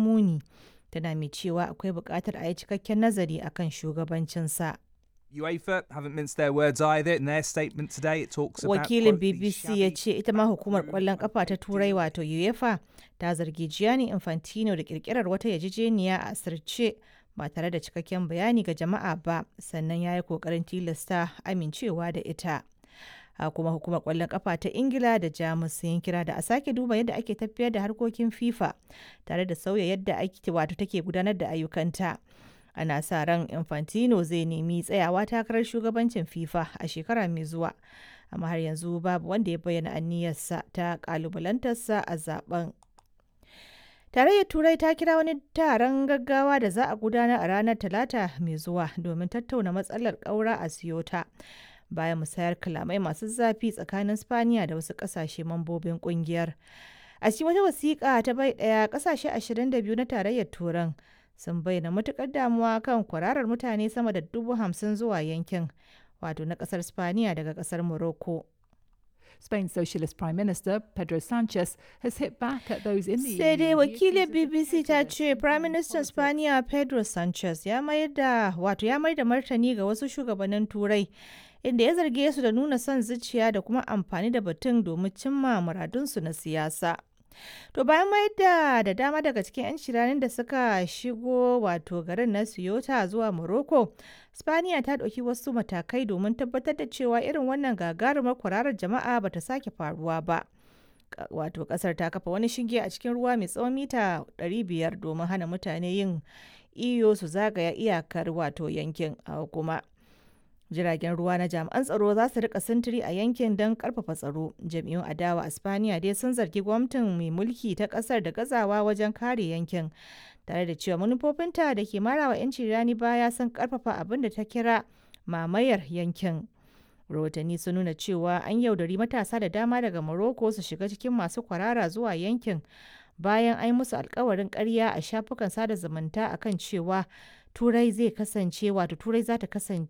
muni, tana mai cewa akwai buƙatar a yi cikakken nazari akan shugabancinsa. UEFA haven't minced their words either. In their statement today, it talks about Wakilin quote, the BBC ya shabby ce ita ma hukumar kwallon kafa ta Turai wato UEFA ta zargi Gianni Infantino da kirkirar wata yarjejeniya a asirce ba tare da cikakken bayani ga jama'a ba, sannan ya yi kokarin tilasta amincewa da ita. A kuma hukumar kwallon kafa ta Ingila da Jamus sun yi kira da a sake duba yadda ake tafiyar da harkokin FIFA tare da sauya yadda ake wato take gudanar da ayyukanta. Ana sa ran Infantino zai nemi tsayawa takarar shugabancin FIFA a shekara mai zuwa, amma har yanzu babu wanda ya bayyana aniyarsa ta kalubalantarsa a zaben. Tarayyar Turai ta kira wani taron gaggawa da za a gudanar a ranar Talata mai zuwa domin tattauna matsalar ƙaura a Ceuta, bayan musayar kalamai masu zafi tsakanin Spaniya da wasu ƙasashe mambobin ƙungiyar. A cikin wata wasiƙa ta bai ɗaya, ƙasashe 22 na Tarayyar Turan sun bayyana matuƙar damuwa kan kwararar mutane sama da 50,000 zuwa yankin, wato na ƙasar Spaniya daga ƙasar Morocco. Spain's Socialist Prime Minister Pedro Sanchez has hit back at those in the Sai dai EU who wakilin accuse of BBC ta prejudice ce and Prime playing Minister politics. Spaniya Pedro Sanchez ya mayar da wato ya mayar da martani ga wasu shugabannin Turai, inda ya zarge su da nuna son zuciya da kuma amfani da batun domin cimma muradunsu na siyasa. To bayan mayar da dama daga cikin 'yan shiranin da suka shigo wato garin na Ceuta zuwa Morocco, Spaniya ta ɗauki wasu matakai domin tabbatar da cewa irin wannan gagarumar kwararar jama'a bata sake faruwa ba. Wato kasar ta kafa wani shinge a cikin ruwa mai tsawon mita 500 domin hana mutane yin iyo su zagaya iyakar wato yankin. A kuma jiragen ruwa na jami'an tsaro za su rika sintiri a yankin don karfafa tsaro. Jam'iyyun adawa a Spaniya dai sun zargi gwamnatin mai mulki ta kasar da gazawa wajen kare yankin, tare da cewa manufofinta da ke marawa 'yanci rani baya sun karfafa abin da ta kira mamayar yankin. Rahotanni sun nuna cewa an yaudari matasa da dama daga Morocco su shiga cikin masu kwarara zuwa yankin bayan an yi musu alkawarin karya a shafukan sada zumunta akan cewa Turai zai kasance wato Turai za ta kasance